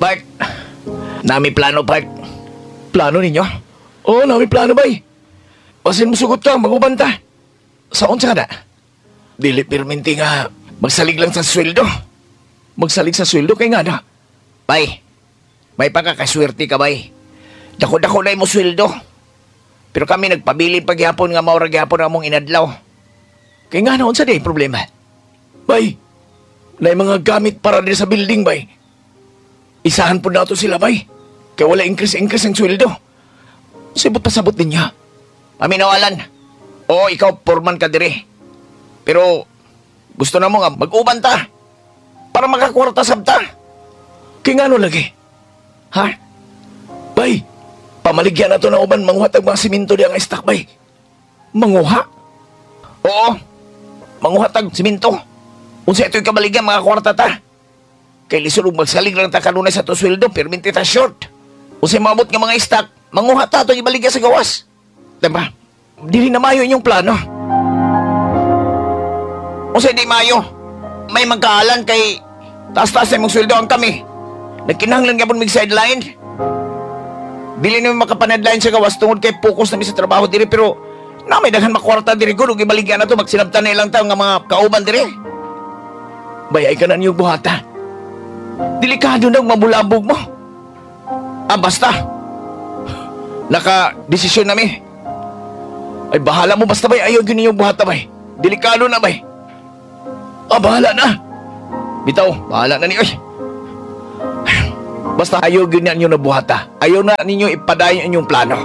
Bart, nami plano, Bart. Plano ninyo? Oo, nami plano, bay. Basin mo sugot ka, maguban ta. Sa unsa ka na? Dili pirminti nga, magsalig lang sa sweldo. Magsalig sa sweldo kay nga na. Bay, may pagkakaswerte ka, bay. Dako-dako na imo sweldo. Pero kami nagpabili pagyapon nga maura gyapon among inadlaw. Kay nga na unsa day problema? Bay, na mga gamit para din sa building, bay. Isahan po nato sila, bay. Kay wala increase-increase ang sweldo. Sibot pasabot din niya. Paminawalan. Oo, ikaw, foreman ka dire. Pero, gusto na mo nga, mag-uban ta. Para makakwarta sabta. Kay nga no lagi? Ha? Bay, pamaligyan na to na uban, manguha tag mga simento di ang stock, bay. Manguha? Oo. Manguha tag simento. Unsa ito'y kabaligyan, mga kwarta ta. Kay lisod og magsalig lang ta kanunay sa to sweldo, perminti ta short. Unsay maabot nga mga stock, manguha ta atong ibaligya sa gawas. Diba? Dili na mayo inyong plano. Unsay di mayo? May magkaalan kay taas-taas na imong sweldo ang kami. Nagkinahanglan gyapon mig sideline. Dili na mi makapanadline sa gawas tungod kay focus na mi sa trabaho diri, pero na may daghan makwarta diri gud ug ibaligya na to, magsinabtan na ilang tawo nga mga kauban diri. Bayay ka na niyong buhata. Delikado na mabulabog mo. Ah, basta. Naka-desisyon nami. Ay, bahala mo basta, bay. Ayaw yun yung buhata, bay. Delikado na, bay. Ah, bahala na. Bitaw, bahala na ni. Ay. Basta ayaw yun na ninyo na buhata. Ayaw na ninyo ipadayon inyong plano.